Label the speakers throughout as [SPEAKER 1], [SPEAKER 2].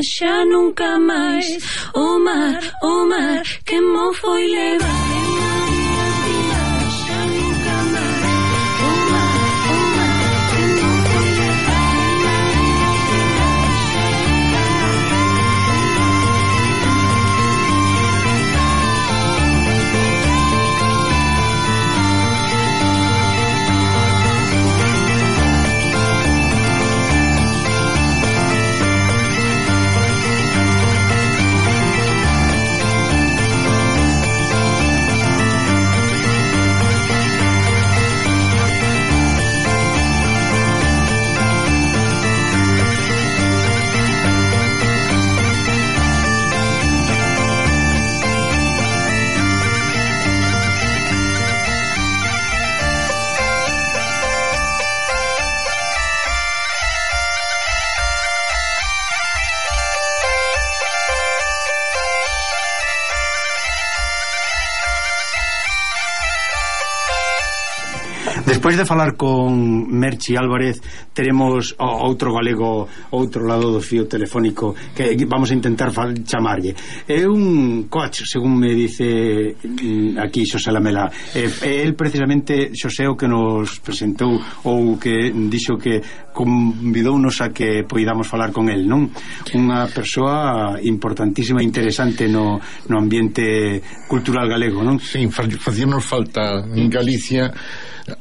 [SPEAKER 1] Xa nunca máis. O mar, que mo foi levar.
[SPEAKER 2] Despois de falar con Merchi Álvarez, teremos outro galego outro lado do fío telefónico que vamos a intentar chamarlle. É un coach, según me dice aquí Xosé Lamela. El precisamente Xosé o que nos presentou ou que dixo que convidounos a que poidamos falar con el, non? Unha persoa importantísima e interesante no ambiente cultural galego, non?
[SPEAKER 3] Sí, facíanos falta en Galicia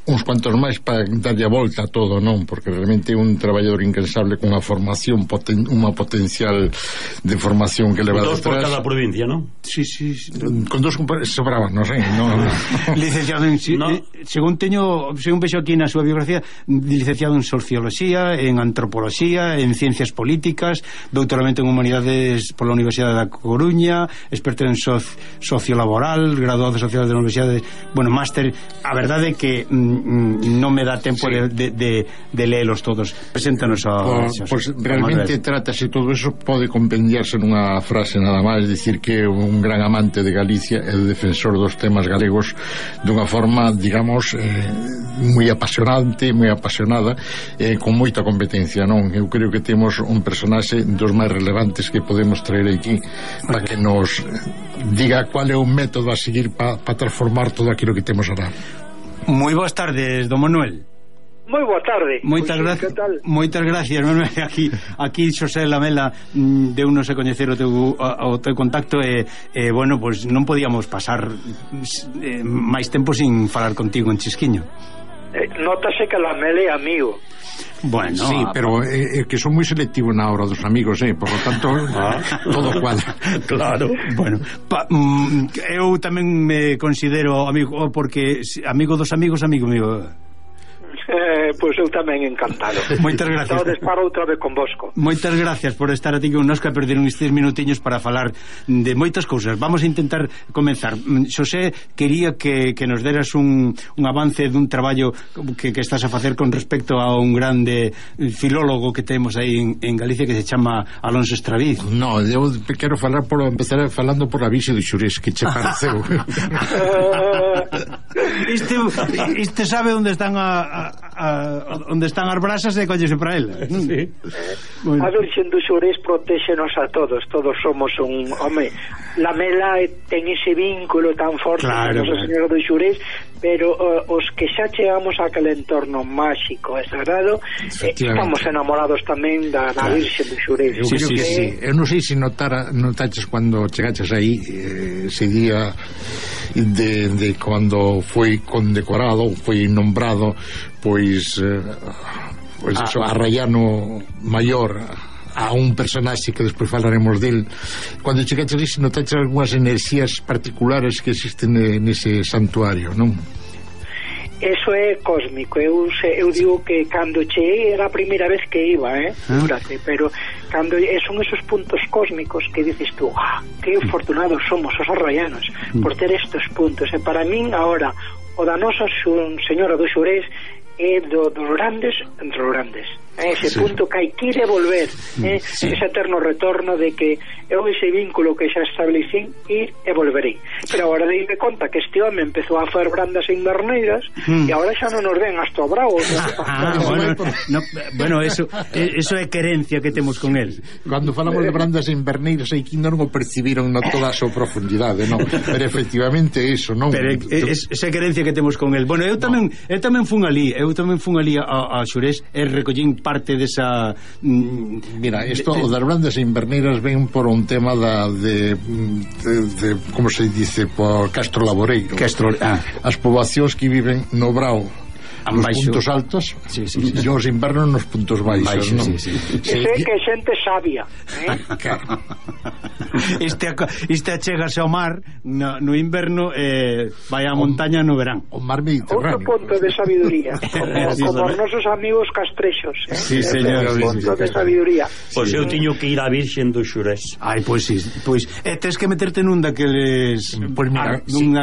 [SPEAKER 3] uns cuantos máis para darlle a volta a todo, non? Porque realmente é un traballador incansable con unha formación unha potencial de formación que leva
[SPEAKER 4] detrás. Dos por cada provincia, non?
[SPEAKER 2] Sí.
[SPEAKER 3] Con dos sobraban, non sei, non.
[SPEAKER 2] Licenciado en según vexo aquí na súa biografía, licenciado en Socioloxía, en Antropoloxía, en Ciencias Políticas, doutoramento en Humanidades pola Universidade da Coruña, experto en Sociolaboral, graduado sociedade da Universidade, máster. A verdade é que non me dá tempo de leelos todos. Preséntanos a
[SPEAKER 3] pues realmente trátase todo eso, pode compendiarse nunha frase nada máis, dicir que é un gran amante de Galicia e defensor dos temas galegos dunha forma, digamos, moi apasionante, moi apasionada, con moita competencia, non? Eu creo que temos un personaxe dos máis relevantes que podemos traer aquí para que nos diga cual é o método a seguir para transformar todo aquilo que temos ahora.
[SPEAKER 2] Moi boas tardes, don Manuel.
[SPEAKER 5] Moi boa tarde.
[SPEAKER 2] Moitas gracias, Manuel. Aquí Xosé Lamela deunos a coñecer o teu contacto e pues non podíamos pasar máis tempo sin falar contigo en Chisquiño.
[SPEAKER 5] Nótase que Lamela é amigo.
[SPEAKER 3] Bueno, sí, pero que son moi selectivos na hora dos amigos, por lo tanto todo cuadra.
[SPEAKER 2] Claro. Bueno, eu tamén me considero amigo, porque amigo dos amigos, amigo mío.
[SPEAKER 5] Pois eu tamén encantado.
[SPEAKER 2] Moitas gracias.
[SPEAKER 5] Estades para outra vez convosco.
[SPEAKER 2] Moitas gracias por estar aquí connosco e perder uns 3 minutiños para falar de moitas cousas. Vamos a intentar comenzar. Xosé, quería que nos deras un avance dun traballo que estás a facer con respecto a un grande filólogo que temos aí en Galicia que se chama Alonso Estraviz.
[SPEAKER 3] No, eu quero empezar falando por a Vixe do Xurés, que che pareceu.
[SPEAKER 2] Este sabe onde están a onde están as brasas e collese para elas.
[SPEAKER 4] Sí.
[SPEAKER 5] A Virxen do Xurés protéxenos a todos somos un... Home, Lamela ten ese vínculo tan forte con Nosa Señora do Xurés, pero os que xa chegamos a aquel entorno máxico e sagrado, estamos enamorados tamén da Virxen do Xurés.
[SPEAKER 3] Eu creo que sí. Eu non sei se notaches cando chegaches aí ese día de cando foi condecorado, foi nombrado pois eso, Arraiano Maior, a un personaxe que despois falaremos del. Cando chegaches ali, se notaches algunhas enerxías particulares que existen nese santuario, non?
[SPEAKER 5] Eso é cósmico. Eu digo que cando cheguei era a primeira vez que iba, fíjate, pero cando son esos puntos cósmicos que dices tú, que afortunados somos os arraianos por ter estos puntos. E para min agora o da Nosa Señora do Xurés é dos grandes entre os grandes. Ese punto que hai que ir e volver, ese eterno retorno de que eu ese vínculo que xa establecín, ir e volverei. Pero agora deime conta que este home empezou a fer brandas inverneiras e agora xa non nos ven hasta o bravo.
[SPEAKER 2] Bueno, eso é querencia que temos con él.
[SPEAKER 3] Cando falamos de brandas inverneiras aí que non o percibiron na toda a súa profundidade, non? Pero efectivamente eso, non?
[SPEAKER 2] Pero esa querencia que temos con él. Bueno, eu tamén fun ali a Xurés e recollín parte desa...
[SPEAKER 3] Mira, isto o das brandas inverneiras ven por un tema de como se dice, por Castro Laboreiro. As poboacións que viven no Brao, nos puntos altos, e os invernos nos puntos baixos, non?
[SPEAKER 5] Sei que xente sabia,
[SPEAKER 3] Claro.
[SPEAKER 2] Este achégase ao mar no inverno e vai á montaña no verán.
[SPEAKER 3] O mar Mediterráneo.
[SPEAKER 5] Outro punto de sabiduría, como os nosos amigos castrexos.
[SPEAKER 2] Sí, señor.
[SPEAKER 5] Punto de sabiduría.
[SPEAKER 4] Pois eu tiño que ir a Virxen do Xurés.
[SPEAKER 2] Pois sí. Tens que meterte nunha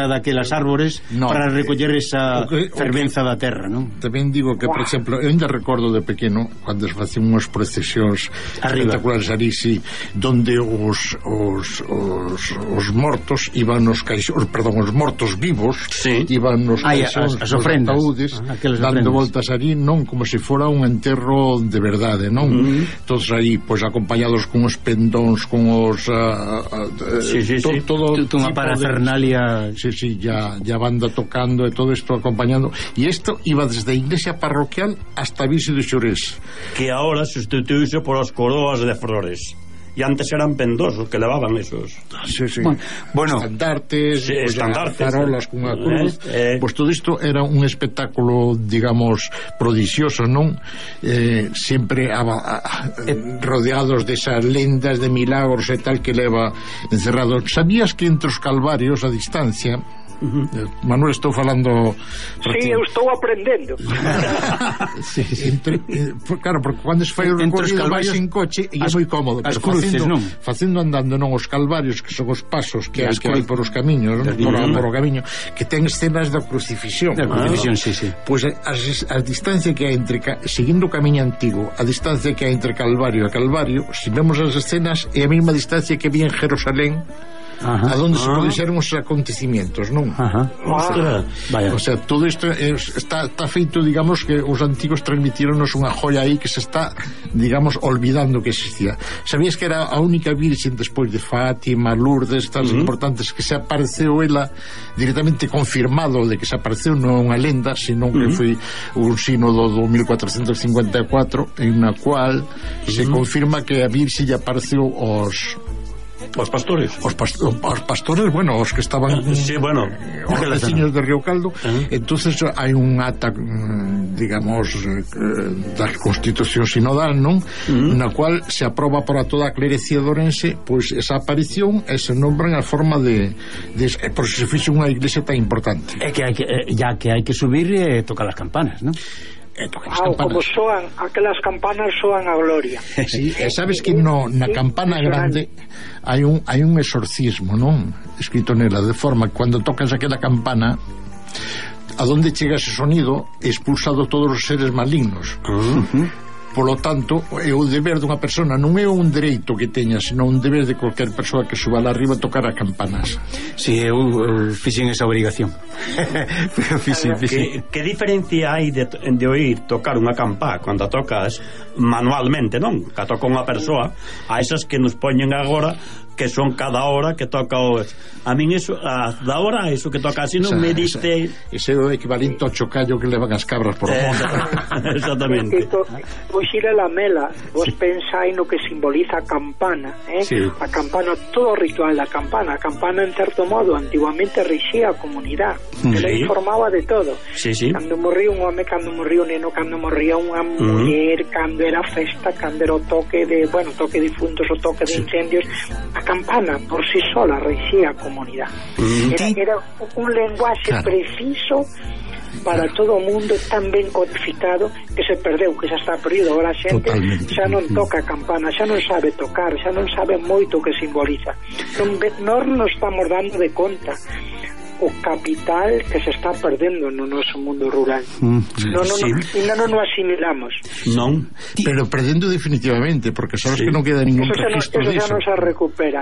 [SPEAKER 2] daquelas árbores para recoller esa fervenza da terra, non?
[SPEAKER 3] Tamén digo que, por exemplo, eu ainda recordo de pequeno cando se facían unhas procesións espectaculares ali, donde os mortos iban nos caixóns, os mortos vivos iban nos caixóns,
[SPEAKER 2] as ofrendas,
[SPEAKER 3] ataúdes, dando voltas ali, non como se fora un enterro de verdade, non? Todos aí, pois, acompañados con os pendóns, con os todo
[SPEAKER 2] unha parafernalia,
[SPEAKER 3] ya banda tocando e todo isto acompañando, e isto iba desde a iglesia parroquial hasta a Virxe do Xurés,
[SPEAKER 4] que ahora sustituíse por as coroas de flores. E antes eran pendosos que levaban esos.
[SPEAKER 3] Bueno, estandartes, farolas cunha cruz. Pois todo isto era un espectáculo, digamos, prodixioso, non? Sempre rodeados desas lendas de milagros e tal que leva encerrado. Sabías que entre os calvarios a distancia, Manuel, estou falando...
[SPEAKER 5] Sí, eu estou aprendendo.
[SPEAKER 3] Claro, porque cando se fai o recorrido vai en coche e é moi cómodo,
[SPEAKER 2] as cruces, non?
[SPEAKER 3] Facendo andando, non, os calvarios, que son os pasos que hai por os camiños, por o camiño, que ten escenas da crucifixión. Pois a distancia que hai entre, seguindo o camiño antigo, a distancia que hai entre Calvario e Calvario, se vemos as escenas, é a mesma distancia que había en Jerusalén, a donde se produxeron os acontecimientos, non? O sea, todo isto está feito, digamos, que os antigos transmitironos unha joia aí que se está, digamos, olvidando que existía. Sabías que era a única virxen despois de Fátima, Lourdes, estas importantes, que se apareceu ela directamente confirmado de que se apareceu, non unha lenda, senón que foi un sínodo do 1454 en na cual se confirma que a virxe lle apareceu os
[SPEAKER 4] pastores.
[SPEAKER 3] Os pastores, bueno, os que estaban os veciños de Río Caldo. Entonces hai un ata, digamos, da Constitución Sinodal, non? Na cual se aproba para toda a clerecía de Ourense, pois esa aparición e se nombran a forma de por se fixo unha iglesia tan importante.
[SPEAKER 2] É que hai que subir e tocar as campanas, non?
[SPEAKER 5] Como soan, aquelas campanas soan a gloria.
[SPEAKER 3] Sabes que na campana grande hai un exorcismo, non? Escrito nela, de forma que cando tocas aquela campana, a donde chega ese sonido, expulsado todos os seres malignos. Polo tanto, é o deber dunha persona, non é un dereito que teña, senón un deber de cualquier persoa que suba lá arriba a tocar a campanas.
[SPEAKER 2] Si, eu fixen esa obrigación.
[SPEAKER 4] Que diferencia hai de oír tocar unha campá cando a tocas manualmente, non? Que a toca unha persoa, a esas que nos poñen agora, que son cada hora que toca o... A min eso, da hora eso que toca así non me diste...
[SPEAKER 3] Ese é o equivalente ao chocallo que levan as cabras por o monte.
[SPEAKER 4] Exactamente.
[SPEAKER 5] Pois ir a la mela, vos pensáis no que simboliza a campana,
[SPEAKER 2] Sí.
[SPEAKER 5] A campana, todo o ritual da campana. A campana, en certo modo, antiguamente rixía a comunidade. Ela informaba de todo.
[SPEAKER 4] Sí, sí.
[SPEAKER 5] Cando morría un home, cando morría un neno, cando morría unha muller, cando era festa, cando era o toque de, bueno, toque de difuntos, o toque de incendios, a campana por si sola reixía a comunidade. Era un lenguaxe preciso para todo o mundo, tan ben codificado, que se perdeu, que xa está perdido. Agora a xente xa non toca a campana, xa non sabe tocar, xa non sabe moito o que simboliza. Nós nos estamos dando de conta o capital que se está perdendo no noso mundo rural. Non nos asimilamos.
[SPEAKER 4] Non.
[SPEAKER 3] Pero perdendo definitivamente, porque sabes que non queda ningún registro disso.
[SPEAKER 5] Eso xa non se recupera,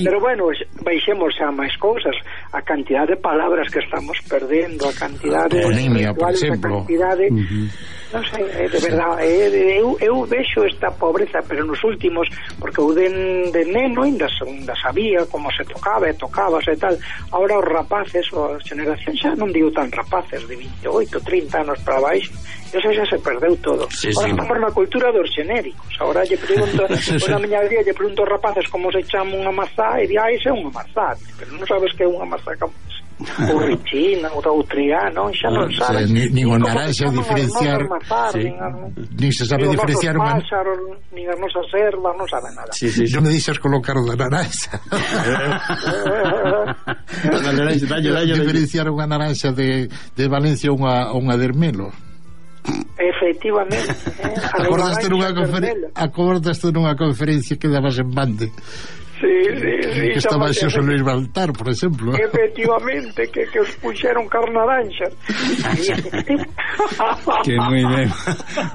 [SPEAKER 5] Pero bueno, baixemos a máis cousas, a cantidad de palabras que estamos perdendo, a cantidad de
[SPEAKER 3] toponimia, por exemplo.
[SPEAKER 5] A cantidad de... Non sei, de verdade, eu vexo esta pobreza, pero nos últimos, porque eu de neno ainda sabía como se tocaba e tocábase e tal. Ahora os rapaces, ou a xeneración xa non digo tan rapaces, de 28, 30 anos para baixo, eso xa se perdeu todo. Ahora estamos na cultura dos xenéricos. Ahora lle pregunto, na miña aldea lle pregunto aos rapaces como se chama unha mazá e di, ese é unha mazá, pero non sabes que é unha mazá ou richina, ou doutriano, xa non sabes.
[SPEAKER 3] Nin o naranxa diferenciar, nin se sabe diferenciar
[SPEAKER 5] unha... nin as nosas ervas, non sabe nada.
[SPEAKER 3] Non me deixas colocar o da naranxa. Diferenciar unha naranxa de Valencia ou unha de Hermelo.
[SPEAKER 5] Efectivamente.
[SPEAKER 3] Acordaste nunha conferencia que dabas en Bande? Que estaba Xosé Luis Baltar, por exemplo.
[SPEAKER 5] Efectivamente, que os puxeron carnaranxas.
[SPEAKER 2] Que moi ben.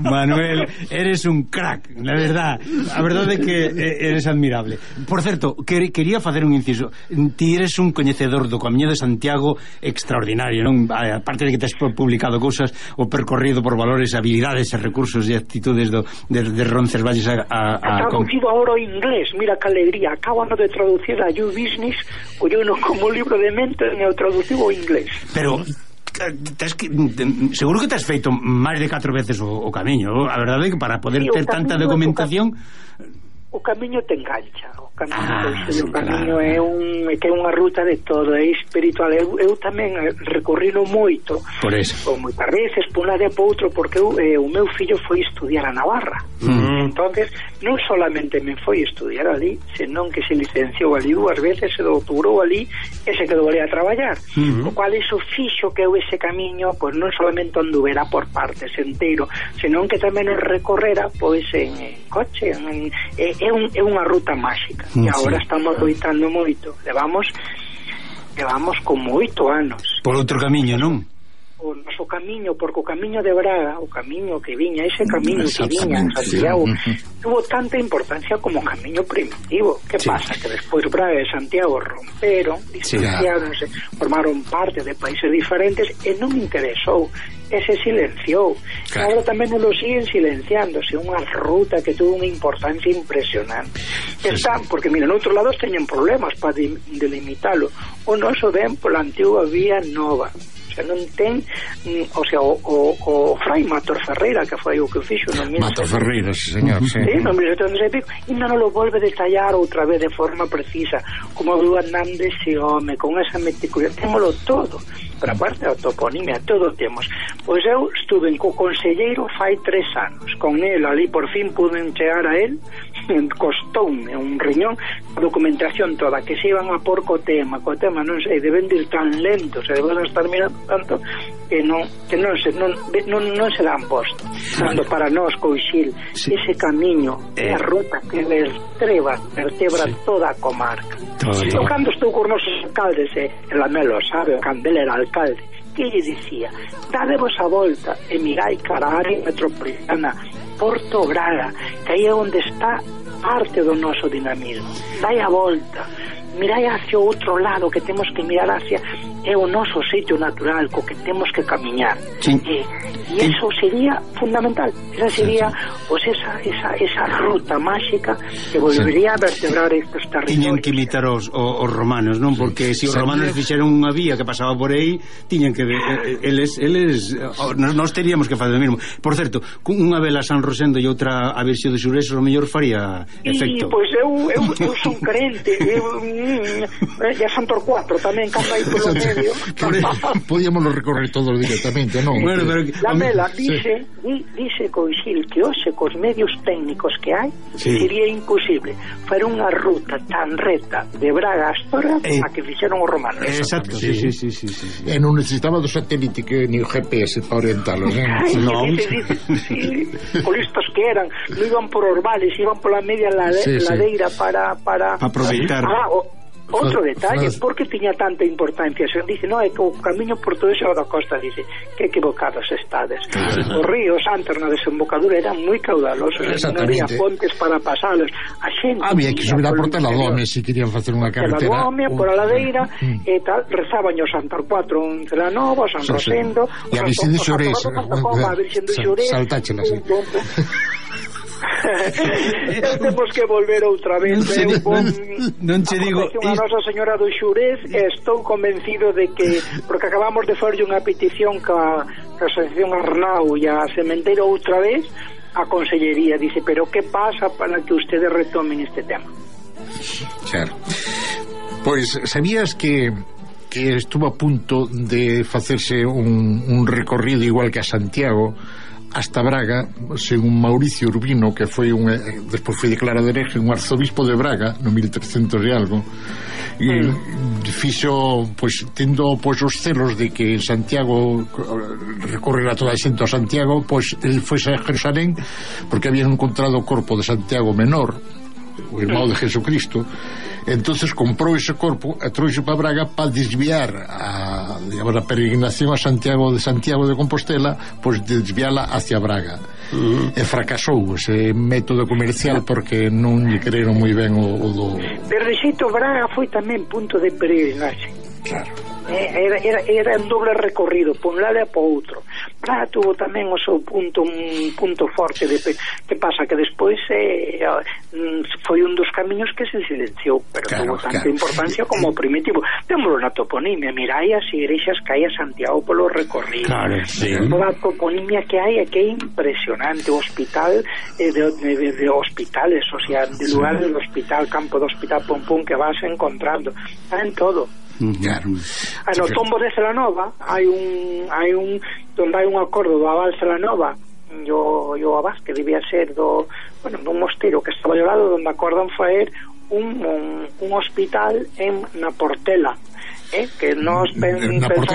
[SPEAKER 2] Manuel, eres un crack, la verdad. A verdade é que eres admirable. Por certo, quería facer un inciso. Ti eres un coñecedor do Camiño de Santiago extraordinario, non? Aparte de que tes publicado cousas, o percorrido por valores, habilidades e recursos e actitudes de Roncesvalles a
[SPEAKER 5] traducido ahora ao inglés. Mira que alegría. Acabo de traducir a You Business, o yo no como libro de mente, e o traducido ao inglés.
[SPEAKER 2] Pero seguro que te has feito máis de 4 veces o camiño. A verdade é que para poder ter tanta documentación,
[SPEAKER 5] o camiño te engancha. O camiño é unha ruta de todo, é espiritual. Eu tamén recorrino moito,
[SPEAKER 2] por eso,
[SPEAKER 5] moitas veces por un lado e por outro, porque o meu fillo foi estudiar a Navarra. Entonces non solamente me foi estudiar ali, senón que se licenciou ali 2 veces, se doutorou ali e se quedou ali a traballar. O cual iso fixo que eu ese camiño, pois non solamente anduvera por partes enteiro, senón que tamén o recorrera pois en coche. É unha ruta máxica. E agora estamos loitando moito. Levamos como 8 anos.
[SPEAKER 2] Por outro camiño, non?
[SPEAKER 5] O noso camiño, porque o camiño de Braga, o camiño que viña, ese camiño que viña en Santiago, tuvo tanta importancia como camiño primitivo. Que pasa? Que despois Braga e Santiago romperon, distanciáronse, formaron parte de países diferentes e non interesou, e se silenciou. Agora tamén non lo siguen silenciándose. Unha ruta que tuvo unha importancia impresionante. Están, porque mira, en outros lados teñen problemas para delimitalo. O noso ven pola antigua vía nova. Non ten, o sea, o Fray Mator Ferreira, que foi o que fixo no
[SPEAKER 3] Mator Ferreira, sí, señor, sí.
[SPEAKER 5] No 1700 e non lo volve a detallar outra vez de forma precisa, como viu andando ese home con esa meticulosidade. Témolo todo, pero aparte da toponimia, todo temos. Pois eu estuve co conselleiro fai 3 anos, con el ali por fin pude chegar a él, costoume un riñón, a documentación toda, que se iban a por co tema non sei, deben de ir tan lentos, se deben estar mirando tanto que non se dan posto. Cando para nós, Coixil, ese camiño é a ruta que vertebra toda a comarca. Cando estou con nosos alcaldes, el Lamelo sabe, cando ele era alcalde, que lle dicía, dadevos a volta e mirai cara a área metropolitana, Porto Braga, que aí é onde está parte do noso dinamismo. Dai a volta, mirai hacia o outro lado, que temos que mirar hacia é o noso sitio natural co que temos que camiñar. E eso sería fundamental. Esa sería pues esa ruta máxica que volvería a vertebrar estes territorios.
[SPEAKER 2] Tiñen que imitar os romanos, non? Porque se os romanos fixeron unha vía que pasaba por aí, tiñen que eles nós teríamos que facer o mesmo. Por certo, unha vela San Rosendo e outra a Virxe de Xurés, o mellor faría efecto.
[SPEAKER 5] Pois eu son crente, ya son por 4 tamén, cando hai polo medio.
[SPEAKER 3] Podíamos recorrer todos directamente, non?
[SPEAKER 2] Bueno, pero
[SPEAKER 5] la vela dice Coixil que hoxe cos medios técnicos que hai sería imposible fer unha ruta tan reta de Braga a Astorga a que fixeron os romanos.
[SPEAKER 2] Exacto, sí.
[SPEAKER 3] E non necesitaba do satélite que ni o GPS para orientalos,
[SPEAKER 5] non? Por listos que eran, non iban por Orbales, iban pola media ladeira para
[SPEAKER 2] aproveitar.
[SPEAKER 5] Outro detalle, por que tiña tanta importancia? Se dice, é que o camiño portugués da costa, dice, que equivocados estades. Os ríos antes na desembocadura eran moi caudalosos, non había pontes para pasalos. A xente
[SPEAKER 3] había que subir a Portela do Home se querían facer unha carretera.
[SPEAKER 5] Portela do Home, por a ladeira, e tal, rezaban o Santar 4 en Celanova, San Rosendo,
[SPEAKER 3] e a Virxen de Xurés, saltáchela,
[SPEAKER 5] temos que volver outra vez.
[SPEAKER 2] Non che digo
[SPEAKER 5] a Nosa Señora do Xurés, estou convencido de que, porque acabamos de fazer unha petición ca Asociación Arnau e a Sementeiro outra vez, a Consellería dice, pero que pasa para que ustedes retomen este tema?
[SPEAKER 3] Claro. Pois sabías que estuvo a punto de facerse un recorrido igual que a Santiago hasta Braga, según Mauricio Urbino, que foi despois foi declarado hereje, un arzobispo de Braga no 1300 e algo, e fixo, pois, tendo pois os celos de que en Santiago recorrerá toda a xente a Santiago, pois el foi a Jerusalén porque habían encontrado o corpo de Santiago menor, o irmão de Jesucristo. Entonces comprou ese corpo e trouxe para Braga para desviar a peregrinación a Santiago de Compostela, pois desviala hacia Braga. E fracasou ese método comercial porque non lle creeron moi ben o do...
[SPEAKER 5] Pero de xeito Braga foi tamén punto de peregrinaxe.
[SPEAKER 3] Claro.
[SPEAKER 5] Era un doble recorrido por un lado e por outro. Braga tuvo tamén o seu un punto forte de que pasa que despois foi un dos camiños que se silenciou, pero tuvo tanta importancia como o primitivo. Témolo na toponimia, mirai as igrexas que hai a Santiago polo recorrido. Toda a toponimia que hai é que é impresionante. O hospital de hospitales, o sea, de lugares do hospital, campo do hospital, pum que vas encontrando, está en todo.
[SPEAKER 3] Claro.
[SPEAKER 5] No tombo de Celanova hai un donde hai un acordo do Abad Celanova e o Abad, que debía ser dun mosteiro que estaba ao lado, donde acordan faer un hospital na Portela, que nos pensamos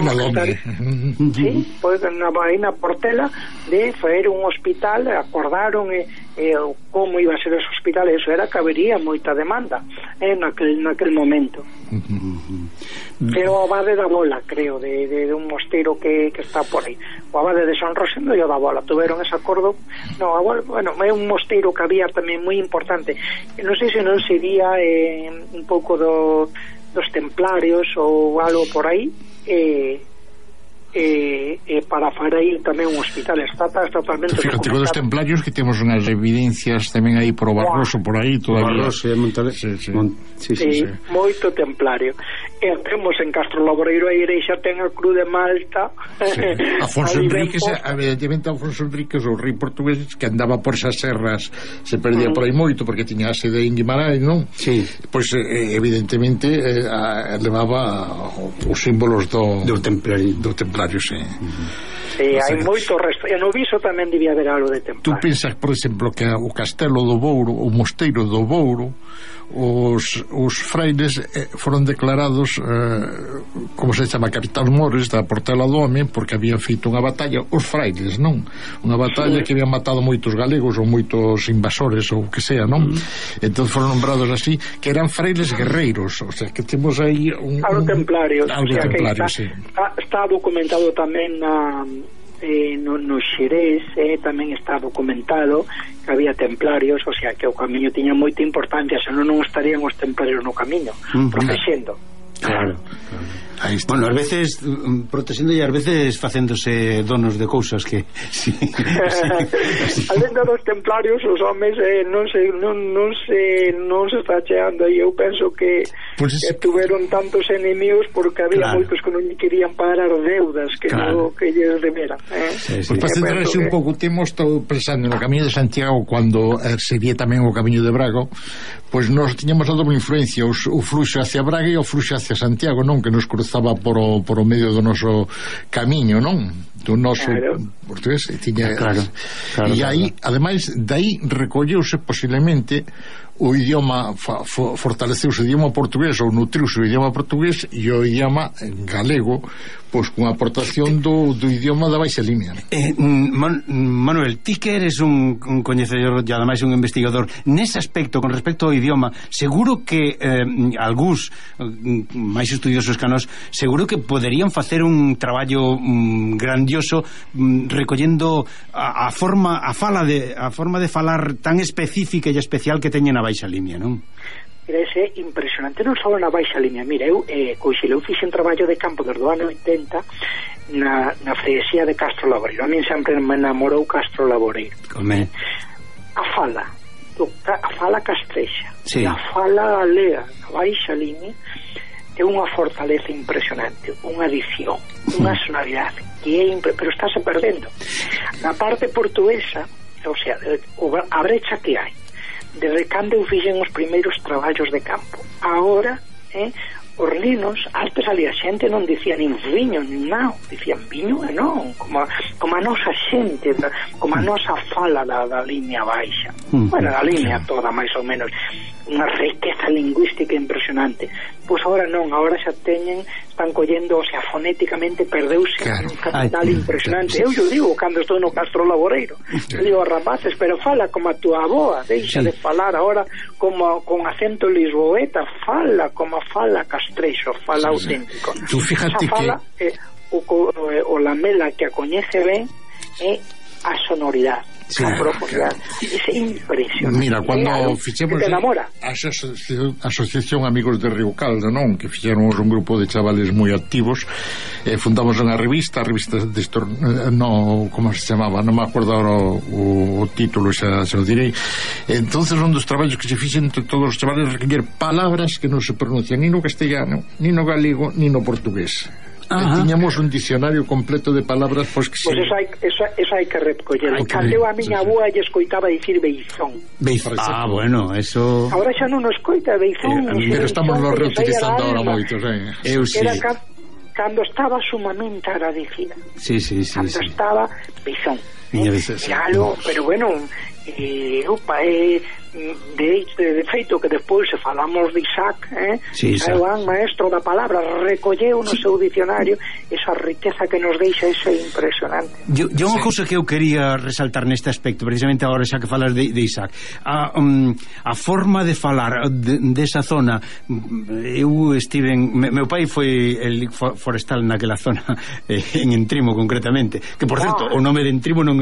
[SPEAKER 5] aí na Portela de faer un hospital. Acordaron como iba a ser ese hospital, eso era que habería moita demanda naquel momento. Pero o Abade da Bola, creo, de un mosteiro que está por aí, o Abade de San Rosendo e o da Bola tuveron ese acordo. É un mosteiro que había tamén moi importante, non sei se non sería un pouco dos templarios ou algo por aí, para fazer aí tamén un hospital. Está totalmente
[SPEAKER 3] fíjate con os templarios, que temos unhas evidencias tamén aí por o Barroso, por aí todavía.
[SPEAKER 2] Barroso,
[SPEAKER 5] sí, moito templario. Temos en Castro Labreiro a igrexa ten a Cruz de Malta.
[SPEAKER 3] Afonso Enríquez, evidentemente Afonso Enríquez, o rei portugués, que andaba por esas serras, se perdía por aí moito porque tiña a sede en Guimarães, non?
[SPEAKER 2] Sí.
[SPEAKER 3] Pois evidentemente levaba os símbolos do templario, sí.
[SPEAKER 5] Sí, hai moito resto. E no Viso tamén debía haber algo de templario.
[SPEAKER 3] Tú pensas, por exemplo, que o Castelo do Bouro, o Mosteiro do Bouro, os frailes foron declarados como se chama, capitán mores da Portela do Home, porque habían feito unha batalla, os frailes, non? Unha batalla que habían matado moitos galegos ou moitos invasores ou que sea, non? Entón foron nombrados así, que eran frailes guerreiros, o sea, que temos aí
[SPEAKER 5] algo templario,
[SPEAKER 3] algo templario, sí.
[SPEAKER 5] Está documentado tamén no Xerés tamén está documentado que había templarios, o sea que o camiño tiña moita importancia, senón non estarían os templarios no camiño protexendo.
[SPEAKER 2] Claro. Bueno, ás veces protexendo e ás veces facéndose donos de cousas que sí.
[SPEAKER 5] Alén dos templarios, os homes non se está cheando, e eu penso que tuveron tantos enemigos porque había moitos que non querían pagar deudas que lles deberan.
[SPEAKER 3] Pues para centrarse un pouco, temos estado pensando no Camiño de Santiago cando sería tamén o Camiño de Braga, pois nós tiñamos a doble influencia, o fluxo hacia Braga e o fluxo hacia Santiago, non? Que nos cruzaba por o medio do noso camiño, non? Do noso portugués tiña, e aí, ademais, dai recolleuse posiblemente o idioma, fortaleceuse o idioma portugués ou nutriuse o idioma portugués e o idioma galego, pois con a aportación do idioma da baixa línea.
[SPEAKER 2] Manuel, ti que eres un coñecedor e ademais un investigador nese aspecto, con respecto ao idioma, seguro que algúns máis estudiosos que nós, seguro que poderían facer un traballo grandioso recollendo a forma de falar tan específica e especial que teñen a baixa línea, non?
[SPEAKER 5] É impresionante, non só na baixa línea. Mira, eu fixe un traballo de campo desde o ano 80 na freguesía de Castro Laboreiro. A mí sempre me enamorou Castro Laboreiro. A fala castrexa, a fala galega na baixa línea é unha fortaleza impresionante, unha adición, unha sonoridade que pero estáse perdendo. Na parte portuguesa, o sea, a brecha que hai desde cando eu fixen os primeiros traballos de campo. Agora, os linos, antes ali a xente non dicía nin viño, nin nao, dicían viño e non, como a nosa xente, como a nosa fala da línea baixa. Bueno, a línea toda, máis ou menos, unha riqueza lingüística impresionante. Pois agora non, agora xa están collendo, o sea, fonéticamente perdeuse un capital impresionante. Eu digo cando estou no Castro Laboreiro, eu digo aos rapaces, pero fala como a tua aboa, deixa de falar agora como con acento lisboeta, fala como fala castrexo, fala auténtico.
[SPEAKER 3] Tú fíjate
[SPEAKER 5] fala,
[SPEAKER 3] que
[SPEAKER 5] o lamela que a coñece ben é a sonoridade. A profundidade. É impresionante.
[SPEAKER 3] Mira, cando fixemos a Asociación Amigos de Río Caldo, non? Que fixéramos un grupo de chavales moi activos, fundamos unha revista de como se chamaba, non me acordo ahora o título, xa o direi. Entonces un dos traballos que se fixen entre todos os chavales recoller palabras que non se pronuncian ni no castellano, ni no galego, ni no portugués. Tiñamos un dicionario completo de palabras, pois que
[SPEAKER 5] eso hai que recoller. Cando a miña aboa lle escoitaba dicir beizón.
[SPEAKER 2] Bueno, eso
[SPEAKER 5] agora xa non o escoita beizón,
[SPEAKER 3] pero estamos lo reutilizando ahora moitos,
[SPEAKER 5] Era cando estaba sumamente agradecida. Cando estaba beizón. Pero bueno, de feito que despois se falamos de Isaac, é un maestro da palabra, recolleu no seu dicionario esa riqueza que nos deixa, ese impresionante.
[SPEAKER 2] Unha cousa que eu quería resaltar neste aspecto, precisamente agora xa que falas de Isaac, a forma de falar desa zona. Eu estive meu pai foi el forestal naquela zona, en Entrimo concretamente, que por certo o nome de Entrimo non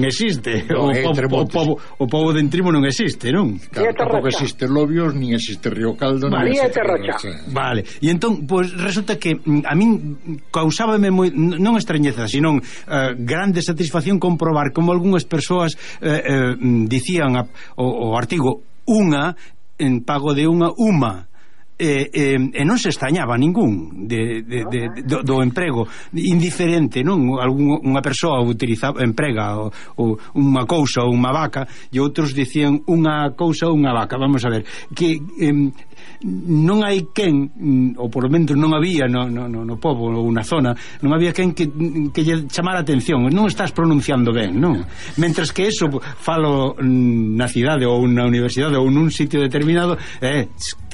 [SPEAKER 2] existe, o pobo de Entrimo non existe, non?
[SPEAKER 3] Claro, tampouco existe Lobios, nin existe Río Caldo,
[SPEAKER 5] nin existe Terracha.
[SPEAKER 2] Vale, e entón, pois resulta que a min causábame non extrañeza, senón grande satisfacción comprobar como algunhas persoas dicían o artigo unha en pago de unha e non se extrañaba ningún do emprego indiferente, non? Unha persoa emprega unha cousa ou unha vaca e outros dicían unha cousa ou unha vaca. Vamos a ver que non hai quen, ou por lo menos non había no pobo ou na zona, non había quen que lle chamara a atención. Non estás pronunciando ben, non? Mentres que eso falo na cidade ou na universidade ou nun sitio determinado,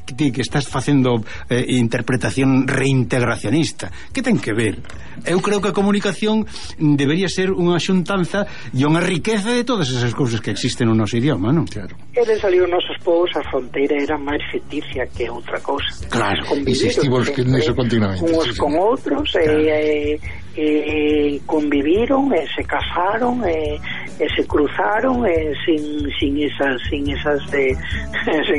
[SPEAKER 2] ti que estás facendo interpretación reintegracionista. Que ten que ver? Eu creo que a comunicación debería ser unha xuntanza e unha riqueza de todas esas cousas que existen no noso idioma, non?
[SPEAKER 3] Claro.
[SPEAKER 5] E desde ali os nosos povos a fronteira era máis ficticia que outra cousa.
[SPEAKER 3] Claro, insistimos que niso continuamente.
[SPEAKER 5] Uns con outros, conviviron, se casaron, se cruzaron, sin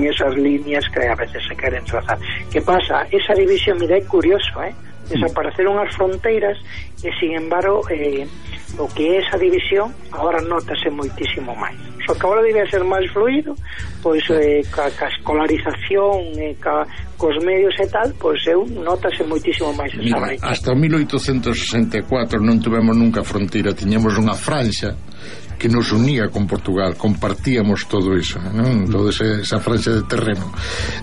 [SPEAKER 5] esas líneas que a veces se queren trazar. Que pasa? Esa división, mira, é curioso, desapareceron as fronteiras e, sin embargo, o que é esa división agora notase moitísimo máis. Só que agora debe ser máis fluido, pois ca escolarización, cos medios e tal, pois notase moitísimo máis esa brecha.
[SPEAKER 3] Hasta 1864 non tuvemos nunca fronteira, tiñamos unha franxa que nos unía con Portugal, compartíamos todo eso, ¿no? Toda esa franxa de terreno.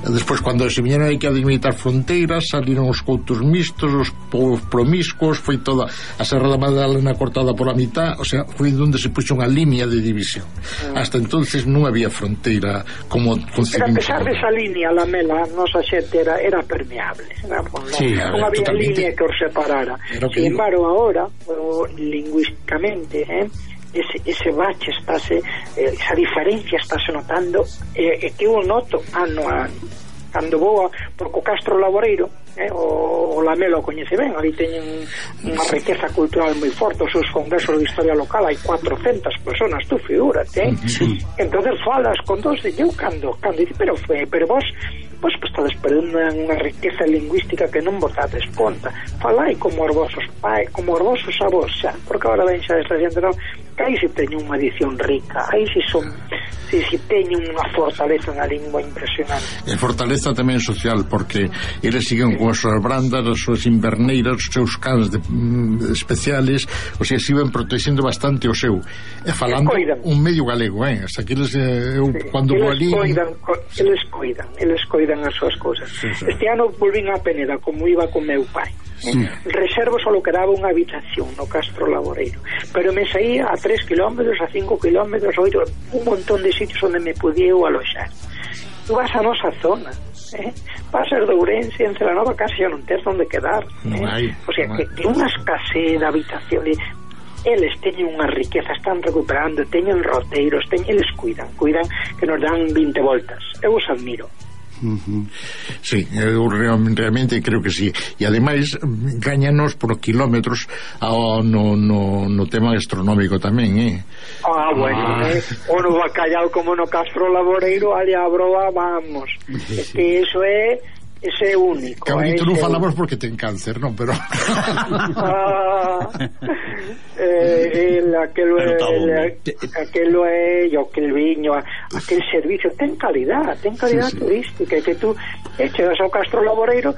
[SPEAKER 3] Despois, cando se viñeron aí que a delimitar fronteiras, saliron os coutos mixtos, os povos promiscuos, foi toda a Serra da Madalena cortada por a mitad, o sea, foi onde se puxo unha línea de división. Hasta entonces non había fronteira como concebimos.
[SPEAKER 5] Pero a pesar desa línea, la mela, nosa xente era permeable, non había línea que os separara. Sin embargo, agora, lingüísticamente, ese bache estáse, esa diferencia estáse notando, que eu noto ano a ano. Cando vou porque o Castro Laboreiro, o Lamelo o coñece ben, ali teñen unha riqueza cultural moi forte, os seus congresos de historia local hai 400 personas, tú figúrate, entonces falas con dos de eu cando dice, pero vos estades perdendo unha riqueza lingüística que non vos dades conta. Falai como os vosos pais, como os vosos avós, xa, porque agora ven xa esta xente, non, que aí se teñen unha edición rica, aí se teñen unha fortaleza na lingua impresionante.
[SPEAKER 3] E fortaleza tamén social, porque eles siguen con as súas brandas, as súas inverneiras, os seus cans especiales, o sea, siguen protexendo bastante o seu, e falando un medio galego, hasta que eles, cando vou ali...
[SPEAKER 5] Eles coidan as súas cousas. Este ano volvín a Peneda, como iba con meu pai. Reservo só quedaba unha habitación no Castro Laboreiro, pero me saía a 3 kilómetros, a 5 kilómetros, a 8, un montón de sitios onde me podía aloxar. Tu vas a nosa zona, pasas de Ourense, en Celanova casi xa non tens onde quedar, o sea, que unha escasez de habitación. Eles teñen unha riqueza, están recuperando, teñen roteiros, eles cuidan que nos dan 20 voltas. Eu os admiro.
[SPEAKER 3] Sí, eu realmente creo que sí, e ademais gañanos por kilómetros no tema gastronómico tamén,
[SPEAKER 5] bueno, o no bacallao como no Castro Laboreiro, ali a broa, vamos, que eso é ese único.
[SPEAKER 3] Cabrito, non falamos porque ten cáncer, non, pero
[SPEAKER 5] aquelo é aquel viño, aquel servicio ten calidad turística, que tú chegas ao Castro Laboreiro,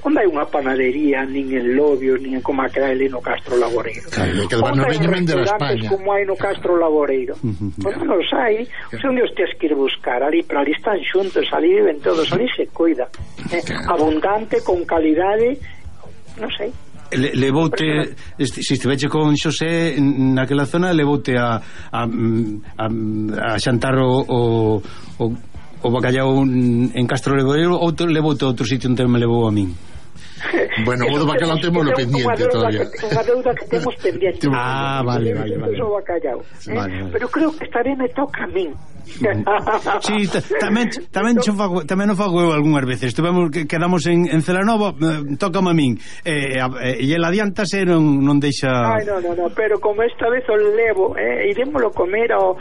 [SPEAKER 5] onde hai unha panadería, nin en Lobios, nin en Comaquedale no Castro Laboreiro,
[SPEAKER 3] onde hai restaurantes
[SPEAKER 5] como hai no Castro Laboreiro, pois non os hai, onde os tens que ir buscar, ali están xuntos, ali viven todos, ali se cuida, abundante, con calidade, non sei.
[SPEAKER 2] Levoute, se estiveche con Xosé naquela zona, levoute a xantar o bacallao en Castro Laboreiro, ou levoute a outro sitio onde me levou a min?
[SPEAKER 3] Bueno, o do bacalao temos lo pendiente todavía.
[SPEAKER 5] Unha deuda que temos pendiente.
[SPEAKER 2] Vale.
[SPEAKER 5] Pero creo que esta vez me toca a min.
[SPEAKER 2] Sí, tamén o fago eu algunhas veces. Quedamos en Celanova, tócame a min, e el adiántase, non deixa.
[SPEAKER 5] No, pero como esta vez o levo, irémolo comer ao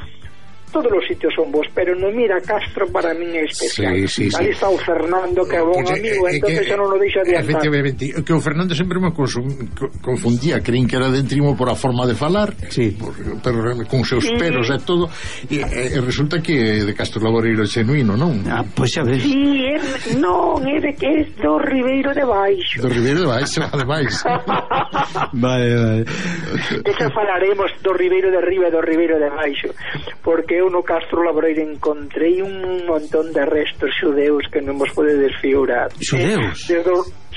[SPEAKER 5] todos os sitios son bons, pero no Mira Castro para min é especial. Sí. Ali está o Fernando, que é bon amigo, entonces xa non o deixa de andar.
[SPEAKER 3] Efectivamente, que o Fernando sempre me confundía, creín que era de Entrimo por a forma de falar, pero con seus peros e todo, e resulta que de Castro Laboreiro é genuíno, non?
[SPEAKER 2] Pois xa ves.
[SPEAKER 5] Sí, non, é de que é do Ribeiro de Baixo.
[SPEAKER 3] Do Ribeiro de Baixo, ademais.
[SPEAKER 2] Vale.
[SPEAKER 5] Xa falaremos do Ribeiro de Riba e do Ribeiro de Baixo, porque eu no Castro Laboreiro encontrei un montón de restos xudeus que non vos podedes figurar.
[SPEAKER 2] Xudeus?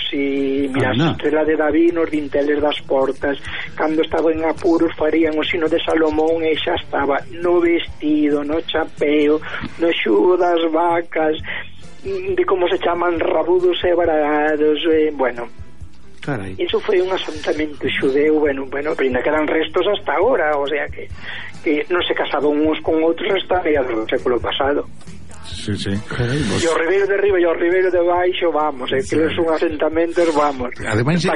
[SPEAKER 5] Si, mira, a estrela de David nos dinteles das portas, cando estaba en apuros farían o sino de Salomón e xa estaba no vestido, no chapeo, no xugo das vacas, de como se chaman rabudos e varados, bueno.
[SPEAKER 2] Carai.
[SPEAKER 5] Iso foi un asentamento xudeu, bueno, pero ainda quedan restos hasta agora, o sea que non se casaban uns con outros hasta mediados do século pasado.
[SPEAKER 3] Sí, sí.
[SPEAKER 5] E o Ribeiro de Riba e o Ribeiro de Baixo, vamos, que son asentamentos, vamos.
[SPEAKER 3] Ademais é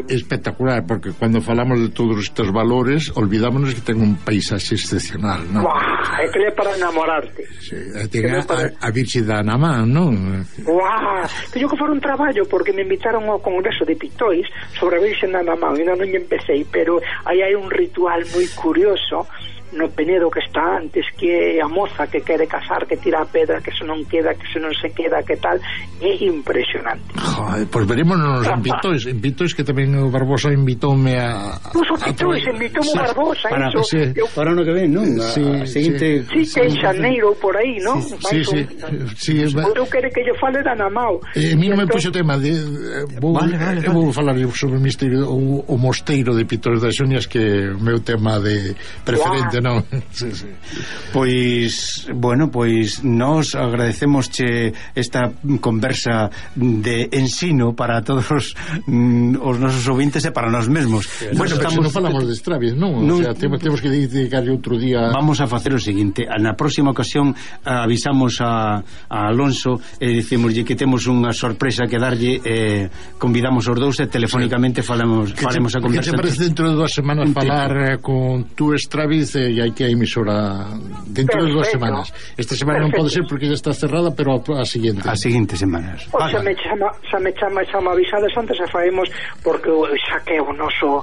[SPEAKER 3] espectacular, porque cando falamos de todos estes valores, olvidámonos que ten un paisaxe excepcional, non?
[SPEAKER 5] É que é para enamorarte.
[SPEAKER 3] Sí, ten a Virxe da Namán, non?
[SPEAKER 5] Teño que fora un traballo, porque me invitaron ao Congreso de Pitois sobre a Virxe da Namán, ainda non empecé, pero aí hai un ritual moi curioso no Penedo que está antes, que a moza que quere casar, que tira a pedra, que se non queda, que se non se queda, que tal, é impresionante.
[SPEAKER 3] Joder, pois verémonos en Pitois, que tamén o Barbosa invitoume a...
[SPEAKER 5] Pois o Pitois invitoume o Barbosa,
[SPEAKER 2] para ano que ven, non?
[SPEAKER 5] Sí, que en xaneiro por aí, non?
[SPEAKER 3] Sí.
[SPEAKER 5] Eu quero que lle fale da Namao.
[SPEAKER 3] A mí non me puxo tema de... Eu vou falar sobre o misterio, o mosteiro de Pitois das Xunias, que é o meu tema de preferente, non? Sí.
[SPEAKER 2] Pois, bueno, pois nós agradecemosche esta conversa de ensino para todos os nosos ouvintes e para nós mesmos.
[SPEAKER 3] Bueno, pero non falamos de Stravinsky, non? O sea, temos que dedicarle outro día.
[SPEAKER 2] Vamos a facer o seguinte, na próxima ocasión avisamos a Alonso e dicimoslle que temos unha sorpresa que darlle, convidamos os dous e telefónicamente faremos a conversa.
[SPEAKER 3] Que te parece dentro de 2 semanas falar con tu Stravinsky e hai que a emisora dentro de 2 semanas. Esta semana non pode ser porque já está cerrada, pero a seguinte.
[SPEAKER 2] As seguintes semanas.
[SPEAKER 5] Xa me avisades antes e faemos, porque xa que o noso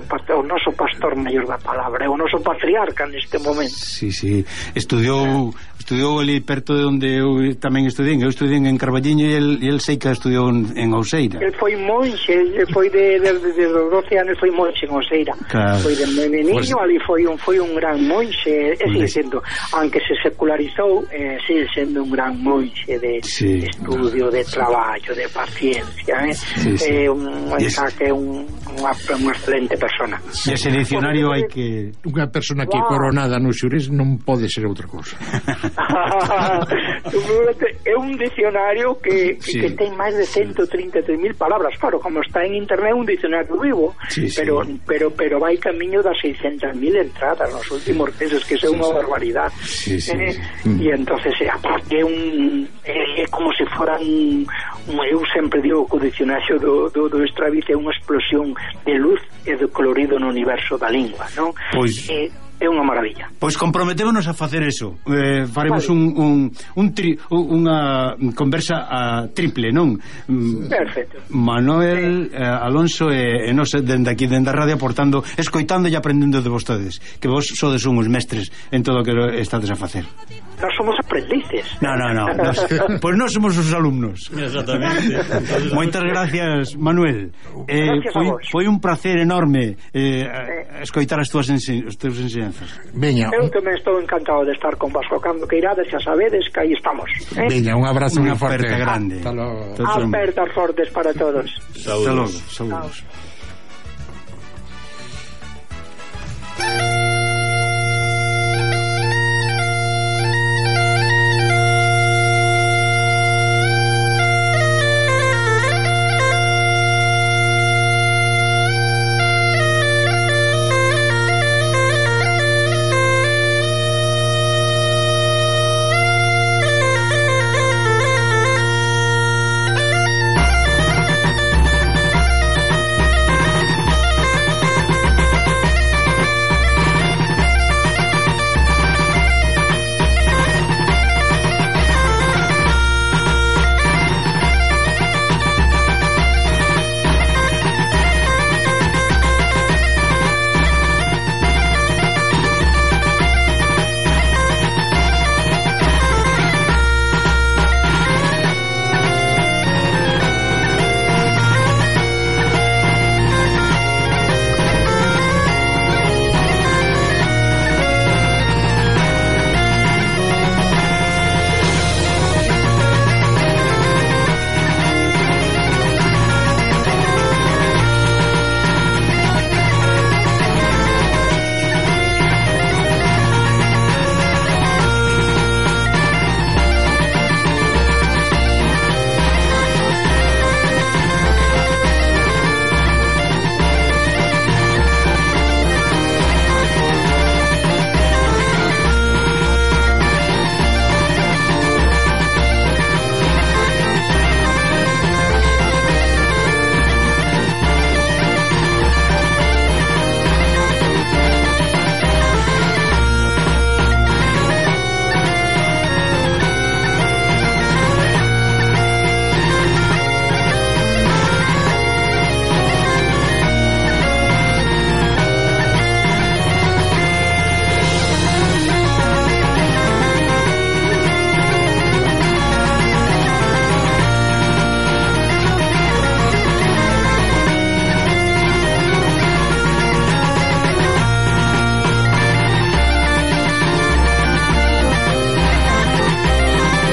[SPEAKER 5] pastor maior da palabra, o noso patriarca neste momento.
[SPEAKER 2] Sí, estudiou ali perto de onde eu tamén estudei. Eu estudei en Carballiño e el sei que estudiou en Ouseira. El
[SPEAKER 5] foi monxe, foi de 12 anos foi monxe en Ouseira.
[SPEAKER 2] Claro.
[SPEAKER 5] Foi de niño, ali foi un gran monxe, sigue sendo, aunque se secularizou, sigue sendo un gran monxe de estudio, de traballo, de paciencia, unha excelente persona.
[SPEAKER 2] E ese diccionario hai que...
[SPEAKER 3] Unha persona que coronada no xurés non pode ser outra cousa.
[SPEAKER 5] É un diccionario que ten máis de 133.000 palabras, claro, como está en internet, un diccionario vivo, pero vai camiño das 600.000 entradas nos últimos meses, que é unha barbaridade. E entonces aparte é como se fora eu sempre digo que o diccionario do Stravinsky é unha explosión de luz e de colorido no universo da lingua, non?
[SPEAKER 2] Pois
[SPEAKER 5] é unha maravilla.
[SPEAKER 2] Pois comprometémonos a facer eso. Faremos unha conversa triple, non?
[SPEAKER 5] Perfecto.
[SPEAKER 2] Manuel, Alonso e nós dende aquí, dende a radio, aportando, escoitando e aprendendo de vostedes, que vos sodes uns mestres en todo o que estades a facer.
[SPEAKER 5] Nós somos aprendices.
[SPEAKER 2] No. Pois nós somos os alumnos.
[SPEAKER 4] Exactamente.
[SPEAKER 2] Moitas gracias, Manuel. Foi un placer enorme escoitar as túas enseñanzas.
[SPEAKER 3] Veña.
[SPEAKER 5] Eu tamén estou encantado de estar con vos, cando que irades, xa sabedes que aí estamos.
[SPEAKER 3] Veña, un abrazo moi forte.
[SPEAKER 2] Grande.
[SPEAKER 3] Hasta logo.
[SPEAKER 5] Apertas fortes para todos.
[SPEAKER 2] Hasta logo. Saúdos.